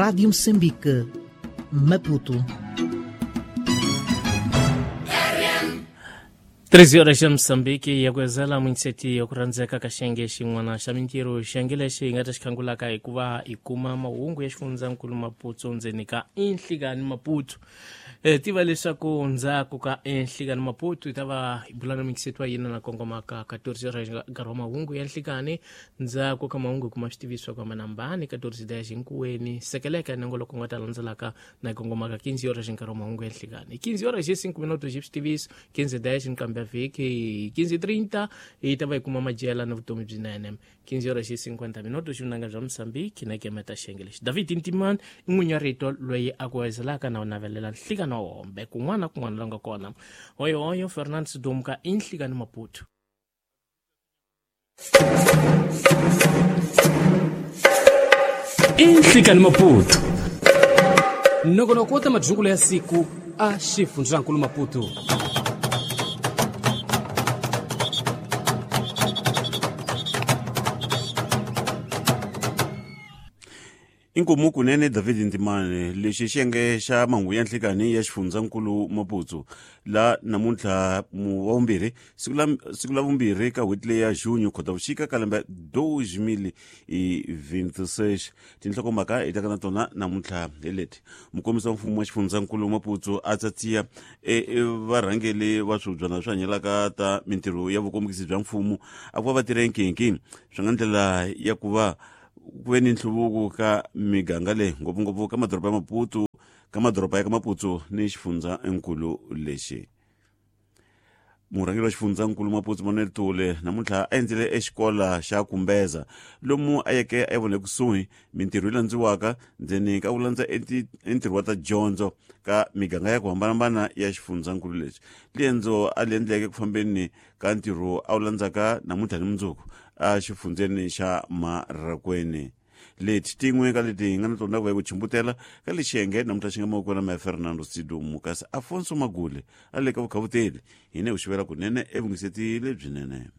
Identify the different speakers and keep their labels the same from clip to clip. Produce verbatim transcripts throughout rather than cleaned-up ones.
Speaker 1: Rádio Moçambique, Maputo.
Speaker 2: treze horas ya Moçambique ya kuezela muinseti ya kurandzeka ka xiyenge xin'wana xa mintirho. Xiyenge lexi hi nga ta xi khangulaka hikuva hi kuma mahungu ya xifundzankulu Maputo ndzeni ka Inhlikani Maputo. E, tiva leswaku ndzhaku ka Inhlikani Maputo hi ta va hi bula na muinseti wa yina na kongomaka quatorze horas nkarhi wa mahungu ya nhlikani. Ndzhaku ka mahungu hi kuma switiviso ku hambanahambana quatorze dez hinkuweni sekeleka nongoloko nga ta landzelaka na kongomaka quinze horas nkarhi wa mahungu ya nhlikani. quinze horas e cinco minutos hi switiviso, quinze dez nkambe vhiki quinze trinta hi ta va hi kuma madyela na vutomi byinene. quinze horas e cinquenta minutos vunanga bya Moçambique na kemeta xiyenge lexi. David Ntiman i n'winyi wa rito loyi a ku wezelaka na u navelela nhlikani wa hombe kun'wana na kun'wana la nga kona. Hoyohoyo Fernandes Dumka i Nhlikani Maputo.
Speaker 3: I Nhlikani Maputo nongonoko wo ta madyungulo ya siku a xifundzankulu Maputo.
Speaker 4: Inkomu kunene David Ntimane lexi xiyenge xa mahungu ya nhlikani ya xifundzankulu Maputo la namuntlha wa vumbirhi siku la siku la vumbirhi ka n'hweti leyi ya junho Khotavuxika ka lembe dois mil e vinte e seis. Tinhlokomhaka hi taka na tona namuntlha hi leti. Mukombisi wa mfumo wa xifundzankulu Maputo a tsatsiya e varhangeli va swibyana swi hanyelaka ta mintirho ya vukombisi bya mfumo a ku va va tirha nkinki swi nga ndlela ya ku va ku ve ni nhluvuko ka miganga leyi ngopfungopfu ka madoroba ya Maputo ka madoroba ya ka Maputo ni xifundzankulu lexi. Murhangeri wa xifundzankulu Maputo Manuel Tule namuntlha a endzele exikola xa Kumbeza lomu a yeke a vona ekusuhi mintirho yi landziwaka ndzeni ka ku landza entirho wa ta dyondzo ka miganga ya ku hambanahambana ya xifundzankulu lexi. Liendzo a li endleke ku fambeni ka ntirho a wu landzaka namuntlha ni mundzuku a xifundzeni xa Marracuene. Leti tin'we ka leti hi nga na tona ku ya ku chimbutela ka lexi xiyenge namuntlha xi nga mavokweni ma Fernando Sidumu kasi Afonso Magule a le ka vukhavuteli hine ku xivela kunene evungiseti lebyinene.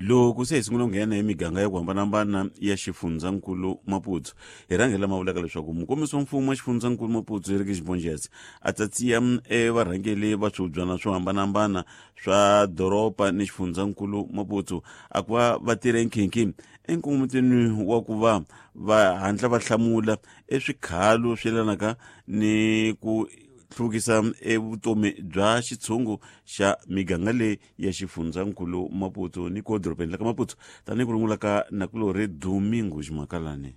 Speaker 4: Loko se hi sungula ku nghena hi miganga ya ku hambanahambana ya xifundzankulu Maputo hi rhangela ma vulaka leswaku mukombisi wa mfumo wa xifundzankulu Maputo Eric Xibonjezi a tsatsiya evarhangeli va swibyana swo hambanahambana swa doroba ni xifundzankulu Maputo a ku va va tirhe nkhinkhi enkongometweni wa ku va va hatla va hlamula eswikhalo swi yelanaka ni ku hluvukisa evutomi bya xitshungu xa miganga leyi ya xifundzankulu Maputo ni ko dorobeni la ka Maputo tanihi ku rungula ka nakulorhi Domingo Ximakalani.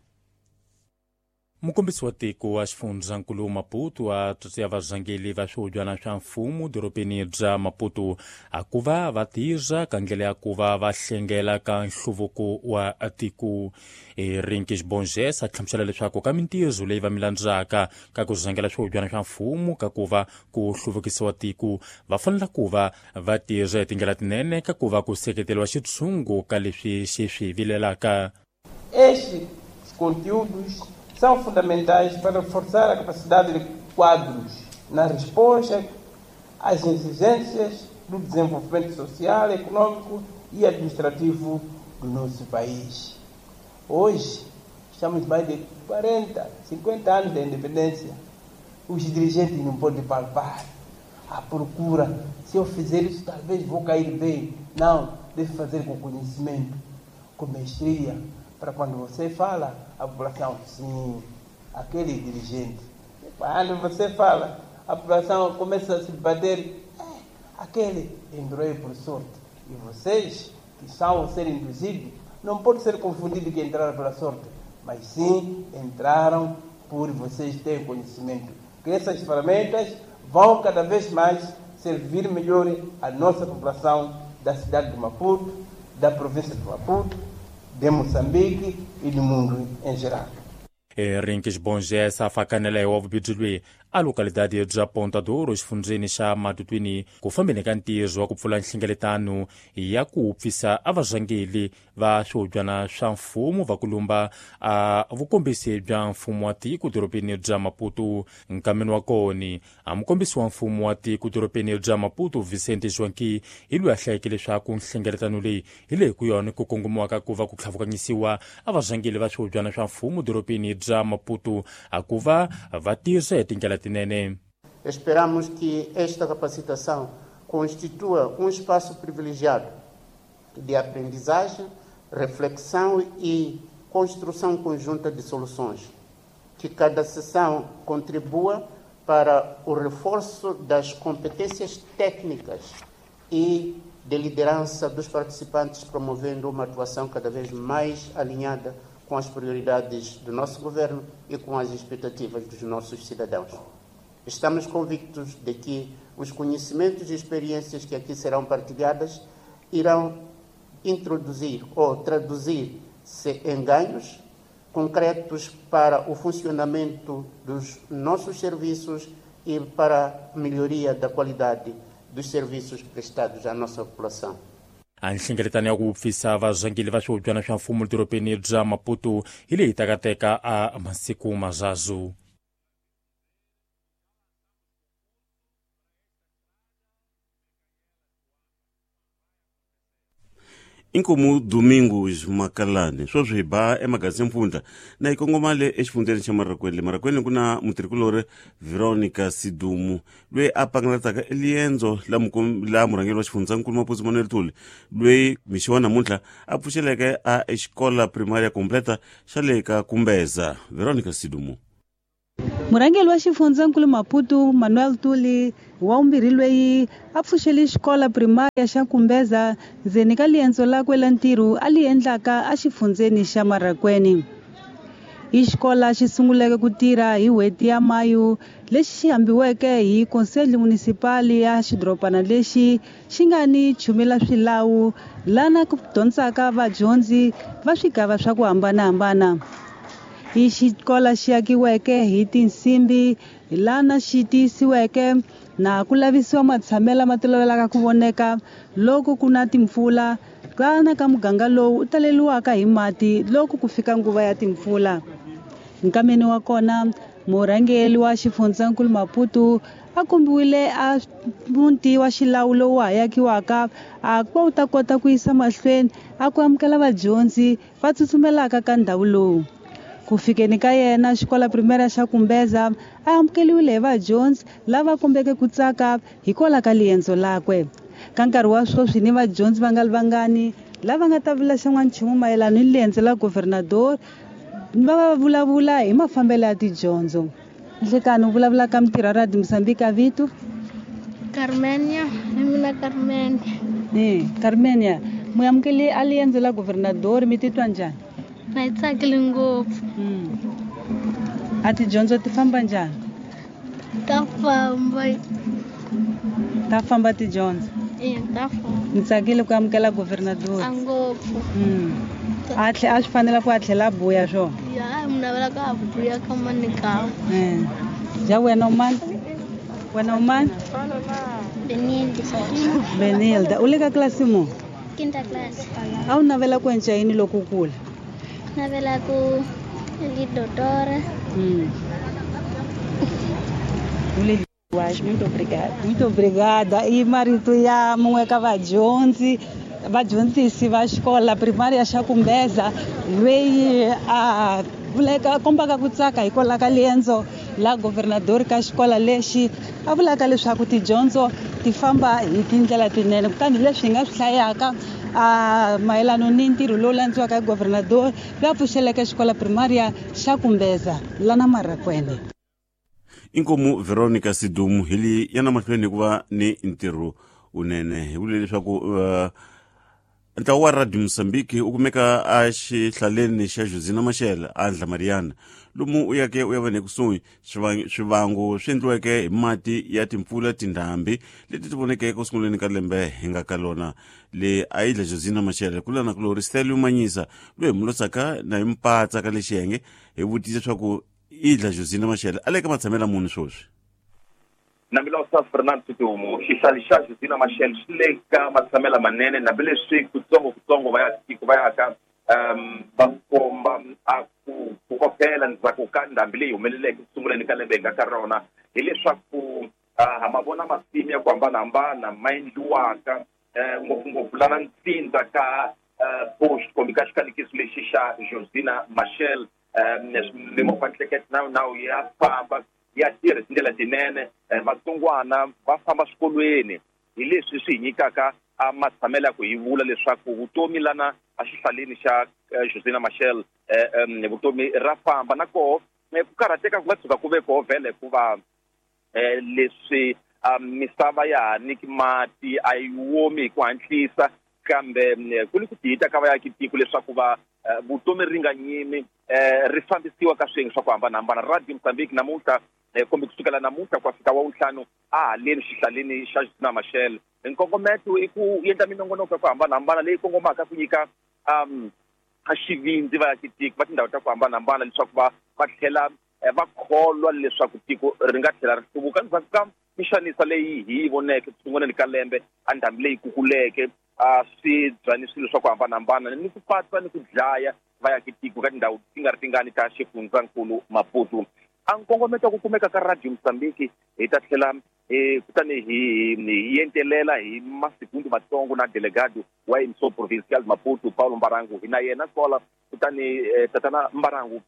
Speaker 5: Mukombisi wa tiko wa xifundzankulu Maputo a tsotseya varhangeli va swihubyana swa mfumo dorobeni bya Maputo a ku va va tirha ka ndlela ya ku va va hlengela ka nhluvuko wa tiko. Rinki Xibonjesa a hlamusela leswaku ka mintirho leyi va mi landzaka ka ku rhangela swihubyana swa mfumo ka ku va ku hluvukisiwa tiko va fanele ku va va tirha hi tindlela tinene ka ku va ku seketeriwa xitshungu ka leswi xi swi vilelaka.
Speaker 6: Estes conteúdos são fundamentais para reforçar a capacidade de quadros na resposta às exigências do desenvolvimento social, econômico e administrativo do nosso país. Hoje, estamos mais de quarenta, cinquenta anos da independência. Os dirigentes não podem palpar a procura. Se eu fizer isso, talvez vou cair bem. Não, deve fazer com conhecimento, com mestria, para quando você fala, a população, sim, aquele dirigente. Quando você fala, a população começa a se bater, é, aquele entrou por sorte. E vocês, que são a ser induzidos, não pode ser confundido que entraram pela sorte, mas sim entraram por vocês terem conhecimento. Que essas ferramentas vão cada vez mais servir melhor a nossa população da cidade de Maputo, da província de Maputo, de Moçambique e do mundo em geral.
Speaker 5: Rinki Xibonjesa a fakanela hi wa vubibyi loyi a localidade bya Ponta do Ouro exifundzeni xa Matutuini ku fambeni ka ntirho wa ku pfula nhlengeletano ya ku pfisa a varhangeli va swihobyana swa mfumo va ku lumba a vukombisi bya mfumo wa tiko dorobeni bya Maputo. Nkameni wa kona a mukombisi wa mfumo wa tiko dorobeni bya Maputo Vicente Joaquim hi loyi a hlayeke leswaku nhlengeletano leyi hi leyi ku yona ku kongomiwaka ku va ku tlhavukanyisiwa a varhangeli va swihobyana swa mfumo dorobeni bya Maputo a ku va va tirha hi tindlela tinene.
Speaker 7: Esperamos que esta capacitação constitua um espaço privilegiado de aprendizagem, reflexão e construção conjunta de soluções, que cada sessão contribua para o reforço das competências técnicas e de liderança dos participantes, promovendo uma atuação cada vez mais alinhada com as prioridades do nosso governo e com as expectativas dos nossos cidadãos. Estamos convictos de que os conhecimentos e experiências que aqui serão partilhadas irão introduzir ou traduzir-se em ganhos concretos para o funcionamento dos nossos serviços e para a melhoria da qualidade dos serviços prestados à nossa população.
Speaker 5: A nhlengeletano ya ku pfisa varhangeli va swihobyana swa mfumo dorobeni bya Maputo hi leyi taka teka a masiku mazazu.
Speaker 4: Inkomu Domingos Makalani sweswi hi ba emagazini mpfundla na hi kongoma le exifundzeni xa Marrakwene. Le Marrakwene ku na mutirhikulori Veronica Sidumu loyi a pangalataka eliendzo la la murhangeri wa xifundzankulu Maputo Manuel Thuli loyi mixo wa namuntlha a pfuxeleke a exikola primaria completa xa le ka Kumbeza. Veronica Sidumu.
Speaker 8: Murhangeri wa xifundzankulu Maputo Manuel Tuli wa vumbirhi loyi a pfuxele xikola primaria xa Kumbeza ndzeni ka liendzo lakwe la ntirho a li endlaka exifundzeni xa Marrakwene. I xikola xi sunguleke ku tirha hi n'hweti ya Mayu lexi xi hambiweke hi Conselho Municipal ya xidorobana lexi xi nga ni chumela swilawu lana ku dyondzaka vadyondzi va swigava swa ku hambanahambana. I xikola xi akiweke hi tinsimbi lana xi tiyisiweke na ku lavisiwa matshamelo ma tolovelaka ku voneka loko ku na timpfula kana ka muganga lowu u taleliwaka hi mati loko ku fika nguva ya timpfula. Nkameni wa kona murhangeri wa xifundzankulu Maputo a kombiwile a muti wa xilawu lowu ha akiwaka a ku va wu ta kota ku yisa mahlweni a ku amukela vadyondzi va tsutsumelaka ka ndhawu lowu. Ku fikeni ka yena xikola primaria xa Kumbeza a amukeliwile hi vadyondzi lava kombeke ku tsaka hikwalaho ka liendzo lakwe. Ka nkarhi wa sweswi ni vadyondzi va nga ri vangani lava nga ta vula xan'wanchumu mayelana ni liendzo la governador va va vulavula hi mafambelo ya tidyondzo. Nhlekani u vulavula ka mitirho ya Radio Mozambique vito?
Speaker 9: Carmenia, hi mina Carmenia.
Speaker 8: Eh, Carmenia, mu amukele a liendzo la governador mi titwa njhani?
Speaker 9: Na yi tsakile ngopfu.
Speaker 8: A tidyondzo ti famba njhani?
Speaker 9: Ta famba.
Speaker 8: Ta famba tidyondzo?
Speaker 9: E, ta famba.
Speaker 8: Ni tsakile ku amukela governador.
Speaker 9: A ngopfu.
Speaker 8: A tlhe a swi fanela ku a tlhela a buya swona?
Speaker 9: Ya, mi navela ka a buya ka manikao.
Speaker 8: Ja wena u mani? Wena u mani?
Speaker 9: Benilda.
Speaker 8: Benilda, u le ka klasi muni?
Speaker 9: Quinta classe.
Speaker 8: A wu navela ku endla yini loko u kula?
Speaker 9: Navela ku li doutora.
Speaker 8: Hum.
Speaker 10: Muito obrigada.
Speaker 8: Muito obrigada. E marito ya mun'we ka vadyondzi vadyondzisi va xikola primaria xa Kumbeza loyi a vuleka kombaka ku tsaka hikwalaho ka liendzo la governador ka xikola lexi a vulaka leswaku tidyondzo ti famba hi tindlela tinene kutani leswi hi nga swi hlayaka a mayelana ni ntirho lowu landziwaka hi governador loyi a pfuxeleke xikola primaria xa Kumbeza lana Marrakwene.
Speaker 4: Inkomu Veronica Sidumu hi li yana mahlweni ku va ni ntirho unene hi vule leswaku uh, ntlawa wa Radio Mozambique u kumeka a xihlaleni xa Josina Machel a Ndlamariana lomu u yake u ya va nekusuhi swivango swi endliweke hi mati ya timpfula tindhambi leti ti vonekeke ku sunguleni ka lembe hi nga ka lona le a yi dla Josina Machel ku lana kulori Stelio Manyisa loyi hi mulotsaka na hi mpatsa ka le xiyenge hi vutisa leswaku i dla Josina Machel a le ka matshamela muni sweswi.
Speaker 11: Nambilosa Fernando Sidumo xihlali xa Josina Machel xi le ka matshamela manene hambileswi kutsongo kutsongo va ya tiko va ya ka um va komba a ku ku kokela ndzhaku ka ndhambi leyi humeleleke ku sunguleni ka lembe hi nga ka rona hileswaku ha ma vona masimu ya ku hambanahambana ma endliwaka ngopfungopfu lana ntsindza ka post kumbe ka xikanikiso lexi xa Josina Machel mimovha nhlekete na nawu ya famba ya tirha tindlela tinene vatsongwana va famba swikolweni hi leswi swi hi nyikaka a matshamelo ya ku hi vula leswaku vutomi lana exihlaleni xa Josina Machel vutomi ra famba na koho ku karhateka ku nga tshuka ku ve koho vhele hikuva leswi misava ya ha nyiki mati a yi womi hi ku hatlisa kambe ku ni ku tiyita ka vaakitiko leswaku va vutomi ri nga nyimi ri fambisiwa ka swiyenge swa ku hambanahambana. Radio Mozambique namuntlha kumbe kusukela namuntlha ku fika wa wuntlhanu a haleni xihlaleni xa Josina Machel nkongometo i ku endla minongonoko ya ku hambanahambana leyi kongomaka ku nyika um a xivindzi vaakitiko va tindhawu ta ku hambanahambana leswaku va va tlhela va kholwa leswaku tiko ri nga tlhela ri hluvuka endzhaku ka mixanisa leyi hi yi voneke ku sunguleni ka lembe a ndhambi leyi kukuleke a swi bya ni swilo swa ku hambanahambana ni ku patsa ni ku dlaya vaakitiko ka tindhawu ti nga ri tingani ta xifundzankulu Maputo. A nkongometo ku kumeka ka Radio Mozambique hi ta tlhela kutani hi hi entelela hi masikundu matsongo na delegado wa Emissor Provincial Maputo Paulo Mbarangu hi na yena kwala kutani tatana Mbarangu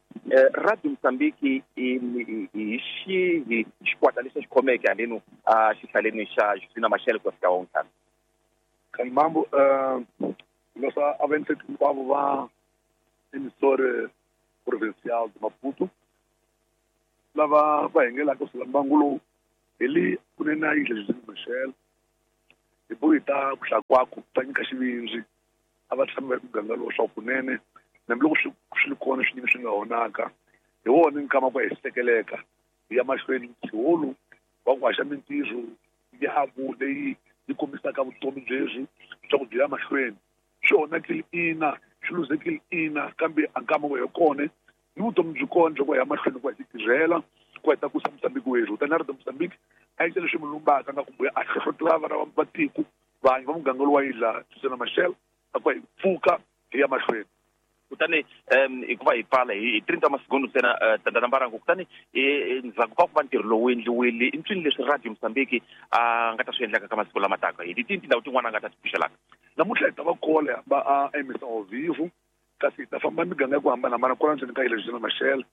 Speaker 11: Radio Mozambique hi xihi xikwata lexi xi khomeke haleno a xihlaleni xa Josina Machel ku fika wontlhanu.
Speaker 12: Mambo nossa avença hinkwavo va Emissor Provincial de Maputo lava va hengelaka kusuka mbangu lowu hi le kunene a yindlu Josina Machel hi bohi ta ku hlakwaku ta nyika xivindzi a va tshama va muganga lowu swa kunene hambiloko swi swi ri kona swinyingi swi nga onhaka hi wona nkama ku hi sekeleka hi ya mahlweni nkhiholu wa ku haxa mintirho ya leyi yi kombisaka vutomi byebyi swa ku byi ya mahlweni swi onhakile ina swi luzekile ina kambe a nkama wa hi kona ni vutomi byi kona bya ku ya mahlweni ku hi tirhela ku hi tlakusa Mozambique werhu tani a ri Mozambique a yi leswi mulumbaka nga kumbe a hlohlotela vana va tiko vanhu va muganga lowu wa yidla Josina Machel a ku hi pfuka hi ya mahlweni.
Speaker 11: Kutani um hikuva hi pfala hi trenta masikundu ntsena tatana Mbarangu kutani ndzhaku ka ku va ntirho lowu endliwile i ncini leswi Radio Mozambique a nga ta swi endlaka ka masiku lama taka hi tini tindhawu tin'wana a nga ta ti pfuxelaka
Speaker 12: namuntlha hi ta va kola va a emisa ao vivo kasi hi ta famba miganga ya ku hambanahambana kwala ndzeni ka yile Josina Machel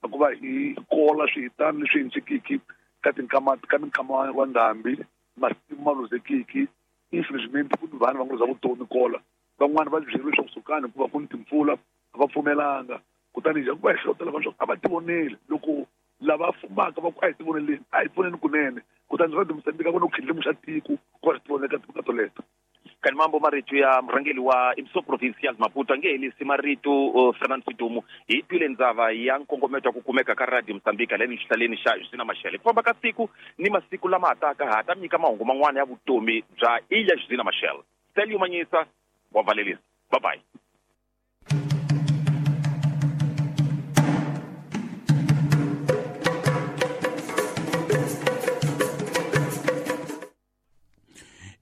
Speaker 12: hikuva hi kola swihitani leswi endlekiki ka tinkama ka minkama wa ndhambi masimu ma luzekiki infelizmente ku ni vanhu va nga luza vutomi kola van'wani va byeriwe leswaku sukani hikuva ku ni timpfula a va pfumelanga kutani hi ku va hi hlohlotela vanhu leswaku a va tivoneli loko lava fumaka va ku a hi tivoneleni a hi pfuneni kunene kutani Radio Mozambique a ku na ku khindlimuxa tiko ku va swi tivonela timhaka toleto.
Speaker 11: Kani mambo marito ya murhangeri wa Emissor Provincial Maputo a nge helisi marito Fernando Sidumo hi twile ndzava ya nkongometo wa ku kumeka ka Radio Mozambique haleni xihlaleni xa Josina Machel ku famba ka siku ni masiku lama hataka ha ta nyika mahungu man'wana ya vutomi bya Ilha Josina Machel. Stelio Manyisa wa valelisa. Bye bye.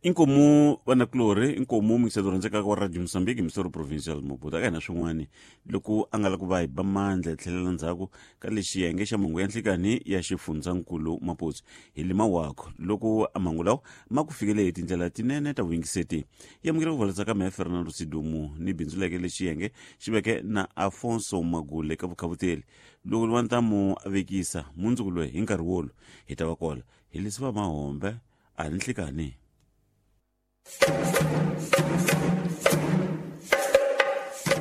Speaker 4: Inkomu vanakulorhi inkomu muyingiseri rhandzekaka wa Radio Mozambique Emissor Provincial Maputo aka hina swin'wani loko a nga la ku va hi ba mandla hi tlhelela ndzhaku ka lexi xiyenge xa mhangu ya nhlikani ya xifundzankulu Maputo hi lima wako loko a mhangu lawa ma ku fikele hi tindlela tinene ta vuyingiseti yi amukela ku valetsa ka mehe Fernando Sidumo ni bindzu leke lexi xiyenge xi veke na Afonso Magule ka vukhavuteli loko wa ntamu a vekisa mundzuku loyi hi nkarhi wolo hi ta va kola hi lesiva mahombe a ni nhlikani.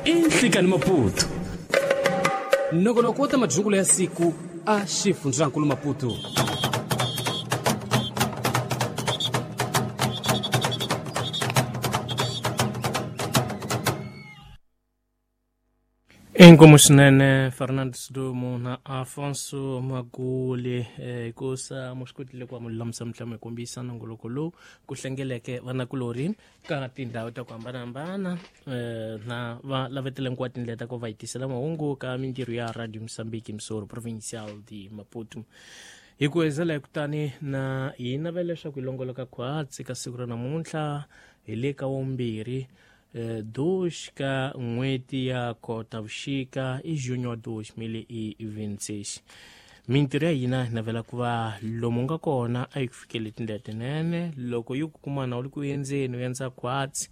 Speaker 3: Inhlikani Maputo nongonoko wa ta madyukulo ya siku a xifundzankulu Maputo.
Speaker 2: Inkomu swinene Fernando Sidumo na Afonso Magule hikusa mu swi kotile ku va mu lulamisa mitlamo hi kombisa nongoloko lowu ku hlengeleke vanakulorhi ka tindhawu ta ku hambanahambana na va lavetele hinkwato tindlela ta ku va hi tisela mahungu ka mintirho ya Radio Mozambique Emissor Provincial de Maputo. Hi ku hezela kutani na hi navela leswaku hi longoloka khwatsi ka siku ra namuntlha hi le ka wumbirhi dois ka n'hweti ya Khotavuxika i junho dois mil e vinte e seis. Mintirho ya hina hi navela ku va lomu nga kona a yi ku fikeli tindlela tinene. Loko yi ku kumana u ri ku endzeni u endza khwatsi,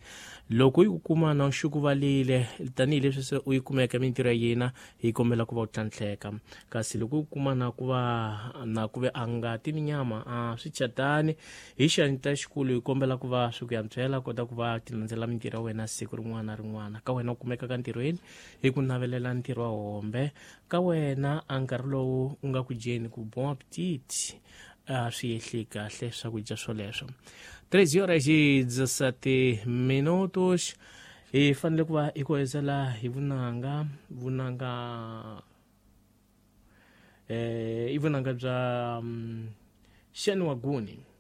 Speaker 2: loko yi ku kumana u xukuvalile tanihileswi se u yi kumeka mintirho ya hina, hi kombela ku va u tlhantlheka. Kasi loko yi ku kumana ku va na ku ve a ngati ni nyama a swi chatani, hi xanta xikulu hi kombela ku va swi ku yantswela kota ku va ti landzela mintirho ya wena siku rin'wana na rin'wana. Ka wena u kumeka ka ntirhweni hi ku navelela ntirho wa hombe, ka wena a nkarhi lowu u nga ku dyeni ku bon appetit a swi ehli kahle swakudya swoleswo. treze horas e dezessete minutos. Hi fanele ku va hi ku hezela hi vunanga vunanga eh i vunanga bya um, Xeni Waguni.